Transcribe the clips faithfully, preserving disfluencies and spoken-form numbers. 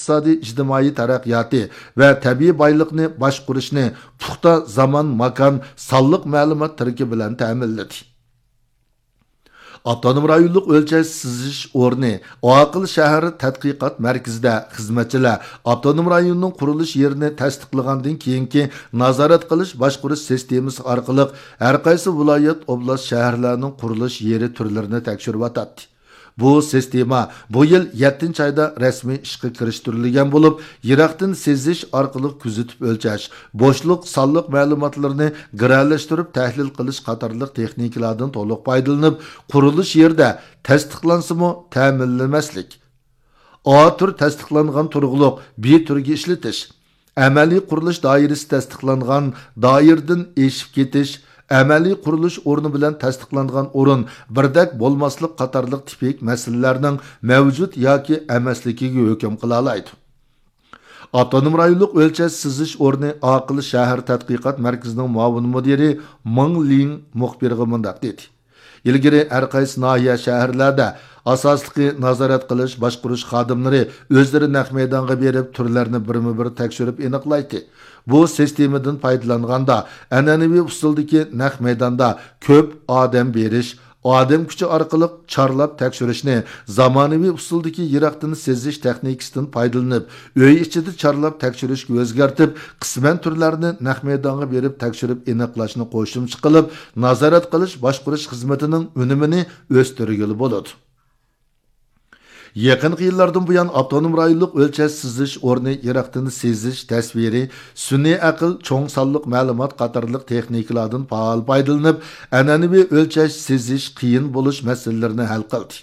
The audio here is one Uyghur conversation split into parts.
ئىقتىسادىي ئىجتىمائىي تەرەققىياتى ۋە تەبىئىي بايلىقنى باشقۇرۇشنى پۇختا زامان، ماكان، سانلىق مەلۇمات تىرىكى بىلەن تەمىنلىدى. ئاپتونوم رايونلۇق ئۆلچەش سىزىش ئورنى ئاقىل شەھەر تەتقىقات مەركىزىدە خىزمەتچىلەر ئاپتونوم رايوننىڭ قۇرۇلۇش يېرىنى تەستىقلىغاندىن كېيىنكى نازارەت قىلىش باشقۇرۇش سىستېمىسى ئارقىلىق ھەرقايسى ۋىلايەت، ئوبلاست، شەھەرلەرنىڭ قۇرۇلۇش يېرى تۈرلىرىنى تەكشۈرۈۋاتاتتى. بۇ سىستېما بۇ يىل يەتتىنچى ئايدا رەسمىي ئىشقا كىرىشتۈرۈلگەن بولۇپ، يىراقتىن سېزىش ئارقىلىق كۆزىتىپ ئۆلچەش، بوشلۇق سانلىق مەلۇماتلىرىنى گىرەلەشتۈرۈپ تەھلىل قىلىش قاتارلىق تېخنىكىلاردىن تولۇق پايدىلىنىپ، قۇرۇلۇش يېرىدە تەستىقلانسىمۇ تەمىنلىمەسلىك، ئا تۈر تەستىقلانغان تۇرغۇلۇق بى تۈرگە ئىشلىتىش، ئەمەلىي قۇرۇلۇش دائىرىسى تەستىقلانغان دائىرىدىن ئېشىپ كېتىش، ئەمەلىي قۇرۇلۇش ئورنى بىلەن تەستىقلانغان ئورۇن بىردەك بولماسلىق قاتارلىق تىپىك مەسىلىلەرنىڭ مەۋجۇت ياكى ئەمەسلىكىگە ھۆكۈم قىلالايدۇ. ئاپتونوم رايونلۇق ئۆلچەش سىزىش ئورنى ئاقىل شەھەر تەتقىقات مەركىزىنىڭ مۇئاۋىن مۇدىرى مېڭ لىڭ مۇخبىرغا مۇنداق دېدى. ئىلگىرى ھەر قايسى ناھىيە، شەھەرلەردە ئاساسلىقى نازارەت قىلىش، باشقۇرۇش خادىملىرى ئۆزلىرى نەق مەيدانغا بېرىپ، تۈرلەرنى بىرمۇ بىر تەكشۈرۈپ ئېنىقلايتتى. بۇ سىستېمىدىن پايدىلانغاندا، ئەنئەنىۋى ئۇسۇلدىكى نەق مەيداندا كۆپ ئادەم بېرىش، ئادەم كۈچى ئارقىلىق چارلاپ تەكشۈرۈشنى زامانىۋى ئۇسۇلدىكى يىراقتىن سېزىش تېخنىكىسىدىن پايدىلىنىپ، ئۆي ئىچىدە چارلاپ تەكشۈرۈشكە ئۆزگەرتىپ، قىسمەن تۈرلەرنى نەق مەيدانغا بېرىپ تەكشۈرۈپ ئېنىقلاشنى قوشۇمچە قىلىپ، نازارەت قىلىش باشقۇرۇش خىزمىتىنىڭ ئۈنۈمىنى ئۆستۈرگىلى بولىدۇ. يېقىنقى يىللاردىن بۇيان، ئاپتونوم رايونلۇق ئۆلچەش سىزىش ئورنى يىراقتىن سېزىش، تەسۋىرىي، سۈنئىي ئەقىل، چوڭ سانلىق مەلۇمات قاتارلىق تېخنىكىلاردىن پائال پايدىلىنىپ، ئەنئەنىۋى ئۆلچەش سېزىش قىيىن بولۇش مەسىلىلىرىنى ھەل قىلدى.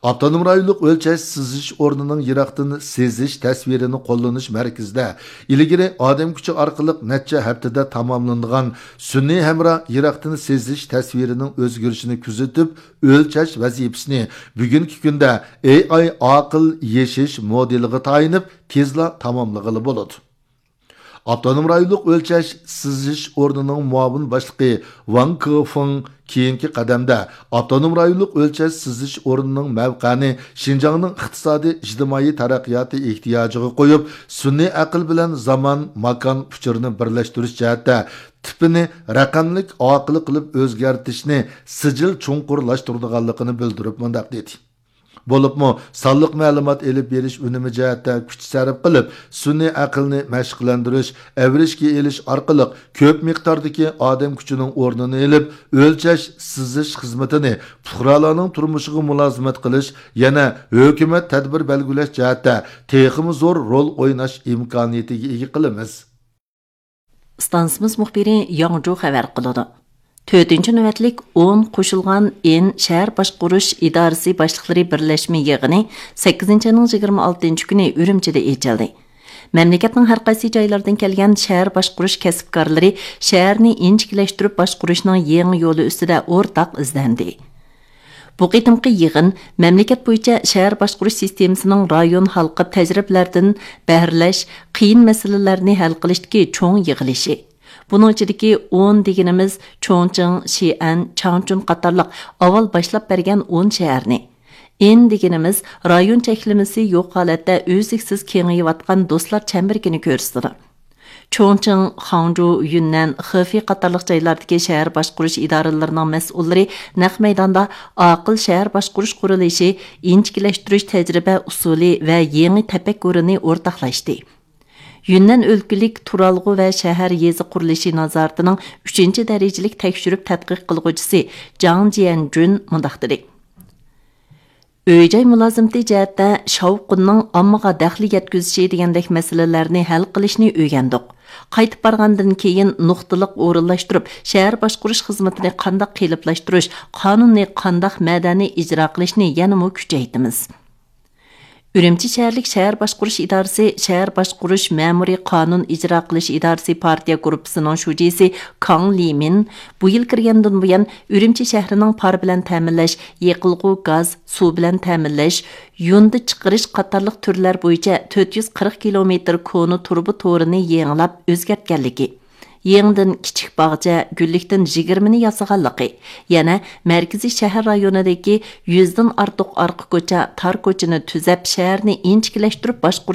ئاپتونوم رايونلۇق ئۆلچەش سىزىش ئورنىنىڭ يىراقتىن سېزىش تەسۋىرىنى قوللىنىش مەركىزىدە ئىلگىرى ئادەم كۈچى ئارقىلىق نەچچە ھەپتىدە تاماملىنىدىغان سۈنئىي ھەمراھ يىراقتىن سېزىش تەسۋىرىنىڭ ئۆزگىرىشىنى كۆزىتىپ، ئۆلچەش ۋەزىپىسىنى بۈگۈنكى كۈندە ئېي ئاي ئاقىل يېشىش مودېلىغا تايىنىپ تېزلا تاماملىغىلى بولىدۇ. ئاپتونوم رايونلۇق ئۆلچەش سىزىش ئورنىنىڭ مۇئاۋىن باشلىقى ۋاڭ كېفېڭ كېيىنكى قەدەمدە ئاپتونوم رايونلۇق ئۆلچەش سىزىش ئورنىنىڭ مەۋقەنى شىنجاڭنىڭ ئىقتىسادىي، ئىجتىمائىي تەرەققىياتى ئېھتىياجىغا قويۇپ، سۈنئىي ئەقىل بىلەن زامان، ماكان ئۇچۇرىنى بىرلەشتۈرۈش جەھەتتە تىپىنى رەقەملىك ئاقىل قىلىپ ئۆزگەرتىشنى سىجىل چوڭقۇرلاشتۇرىدىغانلىقىنى بىلدۈرۈپ مۇنداق دېدى. بولۇپمۇ سانلىق مەلۇمات ئېلىپ بېرىش ئۈنۈمى جەھەتتە كۈچ سەرپ قىلىپ، سۈنئىي ئەقىلنى مەشىقلەندۈرۈش، ئەۋرىشكە ئېلىش ئارقىلىق كۆپ مىقداردىكى ئادەم كۈچىنىڭ ئورنىنى ئېلىپ، ئۆلچەش، سىزىش خىزمىتىنى پۇقرالارنىڭ تۇرمۇشىغا مۇلازىمەت قىلىش، يەنە ھۆكۈمەت تەدبىر بەلگىلەش جەھەتتە تېخىمۇ زور رول ئويناش ئىمكانىيىتىگە ئىگە قىلىمىز. ئىستانسىمىز مۇخبىرى ياڭجۇ خەۋەر قىلىدۇ. تۆتىنچى نۆۋەتلىك ئون قوشۇلغان ئېن شەھەر باشقۇرۇش ئىدارىسى باشلىقلىرى بىرلەشمە يىغىنى سەككىزىنچى ئاينىڭ يىگىرمە ئالتىنچى كۈنى ئۈرۈمچىدە ئېچىلدى. مەملىكەتنىڭ ھەر قايسى جايلىرىدىن كەلگەن شەھەر باشقۇرۇش كەسىپكارلىرى شەھەرنى ئىنچىكىلەشتۈرۈپ باشقۇرۇشنىڭ يېڭى يولى ئۈستىدە ئورتاق ئىزدەندى. بۇ قېتىمقى يىغىن مەملىكەت بويىچە شەھەر باشقۇرۇش سىستېمىسىنىڭ رايون ھالقىپ تەجرىبىلەردىن بەھرىلەش، قىيىن مەسىلىلەرنى ھەل قىلىشتىكى چوڭ يىغىلىشى. بۇنىڭ ئىچىدىكى ئون دېگىنىمىز چوڭچىڭ، شىئەن، چاڭچۈن قاتارلىق ئاۋۋال باشلاپ بەرگەن ئون شەھەرنى، ئېن دېگىنىمىز رايون چەكلىمىسى يوق ھالەتتە ئۈزلۈكسىز كېڭىيىۋاتقان دوستلار چەمبىرىكىنى كۆرسىتىدۇ. چوڭچىڭ، خاڭجۇ، يۈننەن، خېفېي قاتارلىق جايلاردىكى شەھەر باشقۇرۇش ئىدارىلىرىنىڭ مەسئۇللىرى نەق مەيداندا ئاقىل شەھەر باشقۇرۇش قۇرۇلۇشى، ئىنچىكىلەشتۈرۈش تەجرىبە ئۇسۇلى ۋە يېڭى تەپەككۇرىنى ئورتاقلاشتى. يۈننەن ئۆلكىلىك تۇرالغۇ ۋە شەھەر يېزا قۇرۇلۇشى نازارىتىنىڭ ئۈچىنچى دەرىجىلىك تەكشۈرۈپ تەتقىق قىلغۇچىسى جاڭ جيەنجۈن مۇنداق دېدى. ئۆي-جاي مۇلازىمىتى جەھەتتە شاۋقۇننىڭ ئاممىغا دەخلى يەتكۈزۈشى دېگەندەك مەسىلىلەرنى ھەل قىلىشنى ئۆگەندۇق. قايتىپ بارغاندىن كېيىن نۇقتىلىق ئورۇنلاشتۇرۇپ، شەھەر باشقۇرۇش خىزمىتىنى قانداق قېلىپلاشتۇرۇش، قانۇننى قانداق مەدەنىي ئىجرا قىلىشنى يەنىمۇ كۈچەيتىمىز. ئۈرۈمچى شەھەرلىك شەھەر باشقۇرۇش ئىدارىسى شەھەر باشقۇرۇش مەمۇرىي قانۇن ئىجرا قىلىش ئىدارىسى پارتىيە گۇرۇپپىسىنىڭ شۇجىسى كاڭ لىمىن بۇ يىل كىرگەندىن بۇيان، ئۈرۈمچى شەھىرىنىڭ پار بىلەن تەمىنلەش، يېقىلغۇ گاز، سۇ بىلەن تەمىنلەش، يۇندى چىقىرىش قاتارلىق تۈرلەر بويىچە تۆت يۈز قىرىق كىلومېتىر كونا تۇرۇبا تورىنى يېڭىلاپ ئۆزگەرتكەنلىكى، يېڭىدىن كىچىك باغچە، گۈللۈكتىن يىگىرمىنى ياسىغانلىقى، يەنە مەركىزىي شەھەر رايونىدىكى يۈزدىن ئارتۇق ئارقا كوچا، تار كوچىنى تۈزەپ، شەھەرنى ئىنچىكىلەشتۈرۈپ باشقۇرۇش